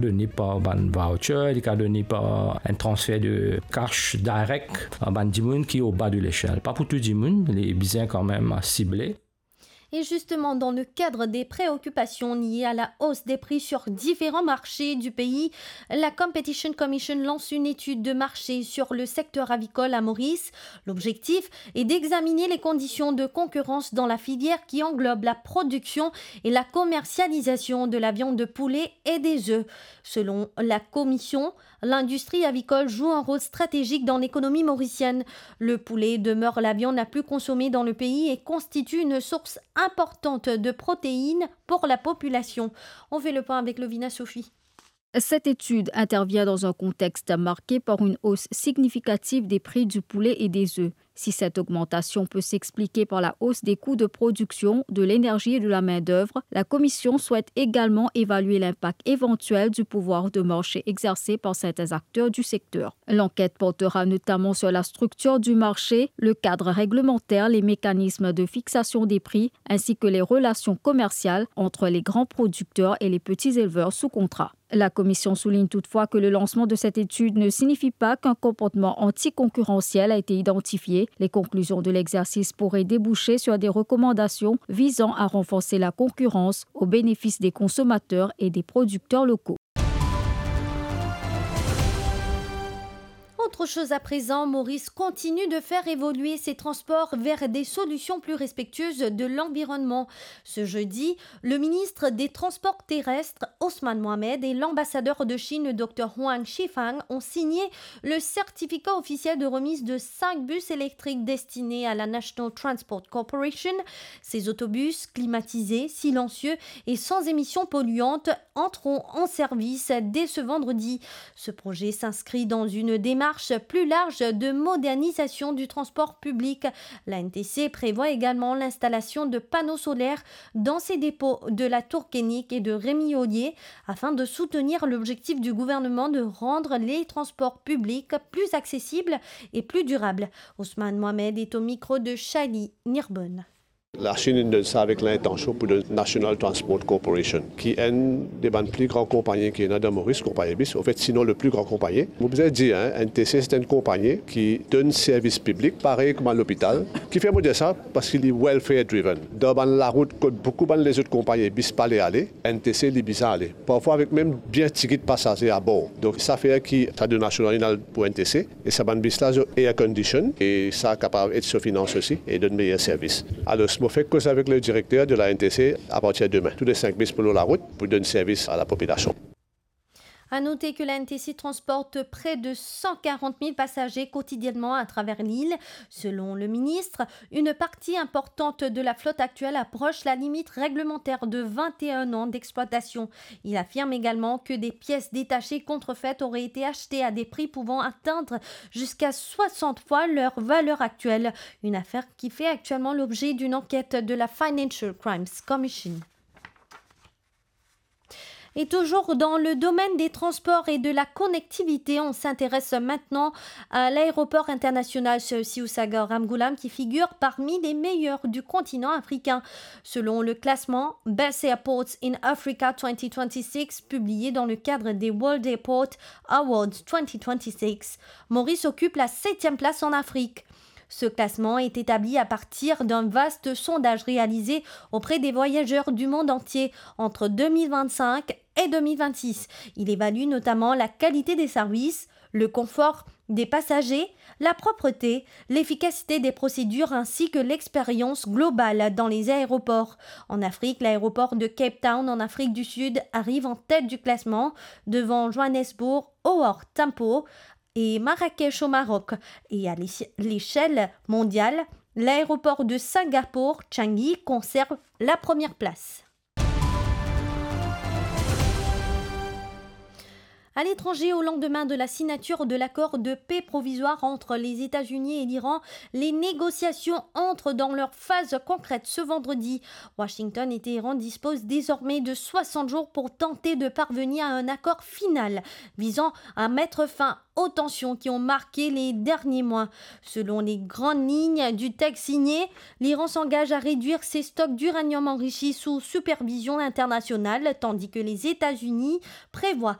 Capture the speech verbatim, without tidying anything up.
Done par bann voucher, li kapav done par enn transfer de cash direct a bann dimoun ki oba de leshel. Pa pou tou dimoun, li bizin kanmem sible. Et justement, dans le cadre des préoccupations liées à la hausse des prix sur différents marchés du pays, la Competition Commission lance une étude de marché sur le secteur avicole à Maurice. L'objectif est d'examiner les conditions de concurrence dans la filière qui englobe la production et la commercialisation de la viande de poulet et des œufs. Selon la commission, l'industrie avicole joue un rôle stratégique dans l'économie mauricienne. Le poulet demeure la viande la plus consommée dans le pays et constitue une source importante de protéines pour la population. On fait le point avec Lovina Sophie. Cette étude intervient dans un contexte marqué par une hausse significative des prix du poulet et des œufs. Si cette augmentation peut s'expliquer par la hausse des coûts de production, de l'énergie et de la main-d'œuvre, la commission souhaite également évaluer l'impact éventuel du pouvoir de marché exercé par certains acteurs du secteur. L'enquête portera notamment sur la structure du marché, le cadre réglementaire, les mécanismes de fixation des prix, ainsi que les relations commerciales entre les grands producteurs et les petits éleveurs sous contrat. La commission souligne toutefois que le lancement de cette étude ne signifie pas qu'un comportement anticoncurrentiel a été identifié. Les conclusions de l'exercice pourraient déboucher sur des recommandations visant à renforcer la concurrence au bénéfice des consommateurs et des producteurs locaux. Autre chose à présent, Maurice continue de faire évoluer ses transports vers des solutions plus respectueuses de l'environnement. Ce jeudi, le ministre des Transports terrestres, Ousmane Mohamed, et l'ambassadeur de Chine, le Dr Huang Shifang, ont signé le certificat officiel de remise de cinq bus électriques destinés à la National Transport Corporation. Ces autobus climatisés, silencieux et sans émissions polluantes entreront en service dès ce vendredi. Ce projet s'inscrit dans une démarche plus large de modernisation du transport public. La N T C prévoit également l'installation de panneaux solaires dans ses dépôts de la Tour Keinec et de Rémy-Olier afin de soutenir l'objectif du gouvernement de rendre les transports publics plus accessibles et plus durables. Ousmane Mohamed est au micro de Shali Nirbonne. Lachinn inn donn sa avek lintansion pou donn National Transport Corporation, ki enn de bann pli gran konpagni ki ena dan Moris, konpagni bis, anfet, sinon le pli gran konpagni. Mo bizin dir, hein, N T C se enn konpagni ki donn servis piblik, parey kouma lopital. Kifer mo dir sa? Paski li welfare driven. Dan bann larout kot boukou bann lezot konpagni bis pa le ale, N T C li bizin ale. Parfwa avek mem bien tigit pasaze abor. Donk sa fer ki sa donn National inn al pou N T C. E sa bann bis la, zot air condition, e sa kapav ed so finans osi, e donn meyer servis. Alor, mo fek koz avek le direkter de la N T C, apartir demin, tou le sink bis pou lor larout, pou donn servis a lapopilasion. À noter que la N T C transporte près de cent quarante mille passagers quotidiennement à travers l'île. Selon le ministre, une partie importante de la flotte actuelle approche la limite réglementaire de vingt et un ans d'exploitation. Il affirme également que des pièces détachées contrefaites auraient été achetées à des prix pouvant atteindre jusqu'à soixante fois leur valeur actuelle, une affaire qui fait actuellement l'objet d'une enquête de la Financial Crimes Commission. Et toujours dans le domaine des transports et de la connectivité, on s'intéresse maintenant à l'aéroport international Sir Siusaga Ramgoolam, qui figure parmi les meilleurs du continent africain. Selon le classement Best Airports in Africa twenty twenty-six, publié dans le cadre des World Airport Awards twenty twenty-six, Maurice occupe la septième place en Afrique. Ce classement est établi à partir d'un vaste sondage réalisé auprès des voyageurs du monde entier entre deux mille vingt-cinq et deux mille vingt-six. Il évalue notamment la qualité des services, le confort des passagers, la propreté, l'efficacité des procédures ainsi que l'expérience globale dans les aéroports. En Afrique, l'aéroport de Cape Town en Afrique du Sud arrive en tête du classement, devant Johannesburg, Howard Tambo, et Marrakech au Maroc. Et à l'éche-, l'échelle mondiale, l'aéroport de Singapour, Changi, conserve la première place. À l'étranger, au lendemain de la signature de l'accord de paix provisoire entre les États-Unis et l'Iran, les négociations entrent dans leur phase concrète ce vendredi. Washington et Téhéran disposent désormais de soixante jours pour tenter de parvenir à un accord final visant à mettre fin aux tensions qui ont marqué les derniers mois. Selon les grandes lignes du texte signé, l'Iran s'engage à réduire ses stocks d'uranium enrichi sous supervision internationale, tandis que les États-Unis prévoient